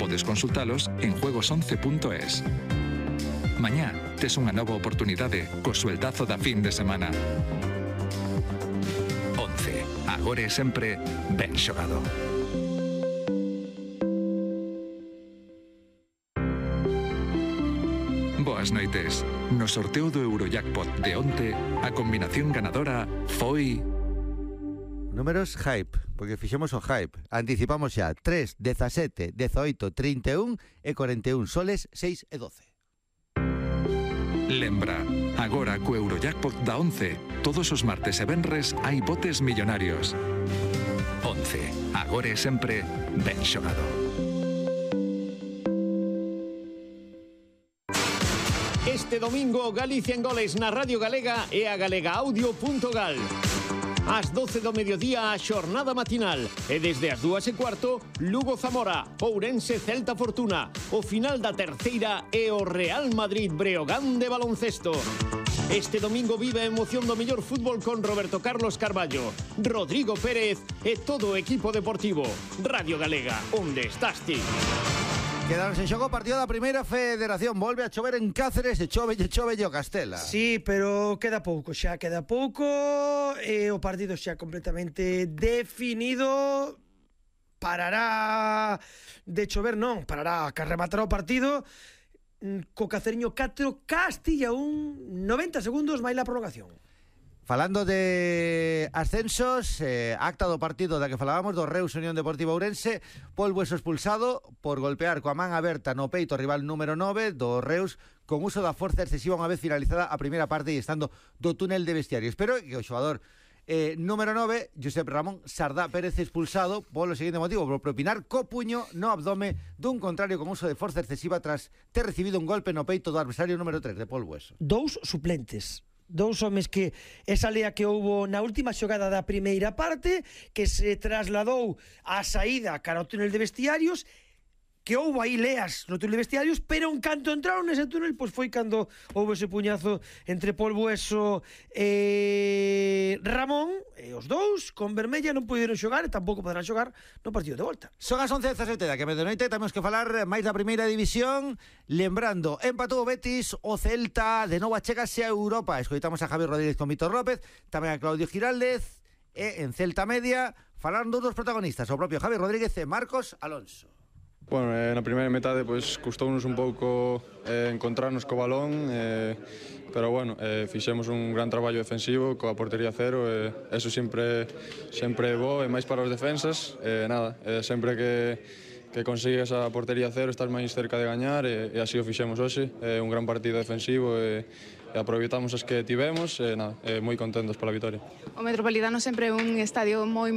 podes consultalos en juegos11.es. Mañá tes unha nova oportunidade co sueldazo da fin de semana. 11. Agora e sempre, ben xogado. Boas noites. No sorteo do Eurojackpot de onte, a combinación ganadora foi... Números hype, porque fixemos o hype. Anticipamos xa 3, 17, 18, 31 e 41 soles, 6 e 12. Lembra, agora co Eurojackpot da 11, todos os martes e venres hai botes millonarios. 11. Agora e sempre, ben xogado. Este domingo, Galicia en Goles na Radio Galega e a galegaaudio.gal. Ás 12 do mediodía a xornada matinal e desde as 2:15 Lugo Zamora, Ourense Celta Fortuna. O final da terceira e o Real Madrid Breogán de baloncesto. Este domingo vive a emoción do mellor fútbol con Roberto Carlos Carballo, Rodrigo Pérez e todo o equipo deportivo. Radio Galega, onde estás ti? Quedaron en xogo o partido da primeira federación. Volve a chover en Cáceres e chove o Castela. Sí, pero queda pouco e o partido xa completamente definido. Parará de chover, non, parará que rematará o partido co Caceriño 4, Castilla 1, 90 segundos máis la prolongación. Falando de ascensos, acta do partido da que falábamos, do Reus Unión Deportiva Ourense. Pol Bueso expulsado por golpear coa man aberta no peito o rival número 9 do Reus con uso da forza excesiva unha vez finalizada a primeira parte e estando do túnel de vestiarios. Pero que o xogador número 9, Josep Ramón Sardá Pérez, expulsado polo seguinte motivo, por propinar co puño no abdome dun contrario con uso de forza excesiva tras ter recibido un golpe no peito do adversario número 3 de Pol Bueso. Dous suplentes. Dous homes que esa lea que houbo na última xogada da primeira parte, que se trasladou á saída cara ao túnel de vestiarios, que houbo aí leas no túnel de vestiarios, pero en canto entraron nese túnel, pois foi cando houbo ese puñazo entre Pol Bueso e Ramón, e os dous con vermella non puderon xogar e tampouco poderán xogar no partido de volta. Son as 11:17 da que a medianoite temos que falar máis da primeira división. Lembrando, empatou o Betis, o Celta de novo achégase a Europa. Escoitamos a Javi Rodríguez con Víctor López, tamén a Claudio Giraldez, e en Celta Media falaron dos protagonistas, o propio Javi Rodríguez e Marcos Alonso. Bueno, na primeira metade pois custounos un pouco encontrarnos co balón, pero bueno, fixemos un gran traballo defensivo coa portería cero, eso sempre é bo, e máis para os defensas, sempre que consigues a portería cero estás máis cerca de gañar, e así o fixemos hoxe, un gran partido defensivo e aproveitamos as que tivemos, moi contentos pola vitoria. O Metropolitano sempre é un estadio moi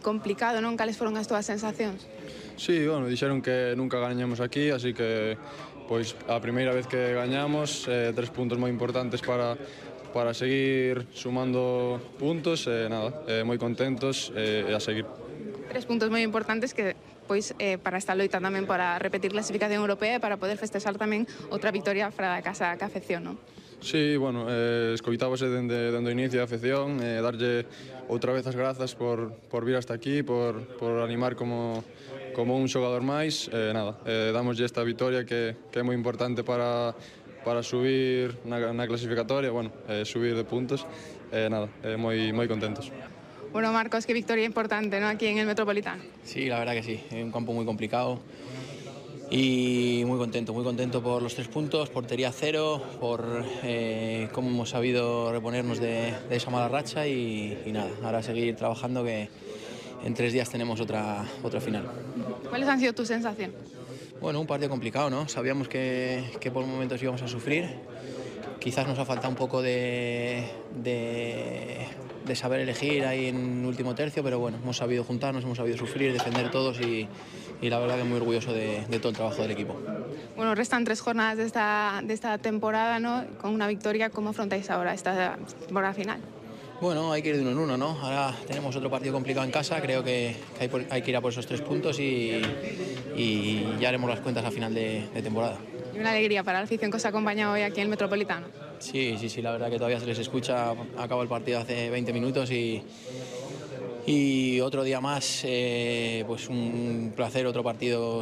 complicado, non? Cales foron as túas sensacións? Sí, bueno, dixeron que nunca gañamos aquí, así que pois a primeira vez que gañamos, 3 puntos moi importantes para seguir sumando puntos, moi contentos e a seguir. 3 puntos moi importantes que pois para esta loita tamén para repetir clasificación europea e para poder festexar tamén outra victoria fora da casa que afección, non? Sí, bueno, escoitábase dende o inicio da afección, darlle outra vez as grazas por vir hasta aquí, por animar como un xogador máis, damoslle esta vitoria que é moi importante para subir na clasificatoria, subir de puntos, moi contentos. Bueno, Marcos, qué victoria importante, ¿no?, aquí en el Metropolitano. Sí, la verdad que sí, es un campo muy complicado y muy contento por los 3 puntos, portería cero, por cómo hemos sabido reponernos de esa mala racha y nada, ahora seguir trabajando que en 3 días tenemos otra final. ¿Cuáles han sido tus sensaciones? Bueno, un partido complicado, ¿no? Sabíamos que por momentos íbamos a sufrir. Quizás nos ha faltado un poco de saber elegir ahí en último tercio, pero bueno, hemos sabido juntarnos, hemos sabido sufrir, defender todos y la verdad que muy orgulloso de todo el trabajo del equipo. Bueno, restan 3 jornadas de esta temporada, ¿no? Con una victoria, ¿cómo afrontáis ahora esta temporada final? Bueno, hay que ir de uno en uno, ¿no? Ahora tenemos otro partido complicado en casa, creo que hay que ir a por esos 3 puntos y ya haremos las cuentas a final de temporada. Y una alegría para la afición que os ha acompañado hoy aquí en el Metropolitano. Sí, la verdad que todavía se les escucha, acabó el partido hace 20 minutos y otro día más, pues un placer, otro partido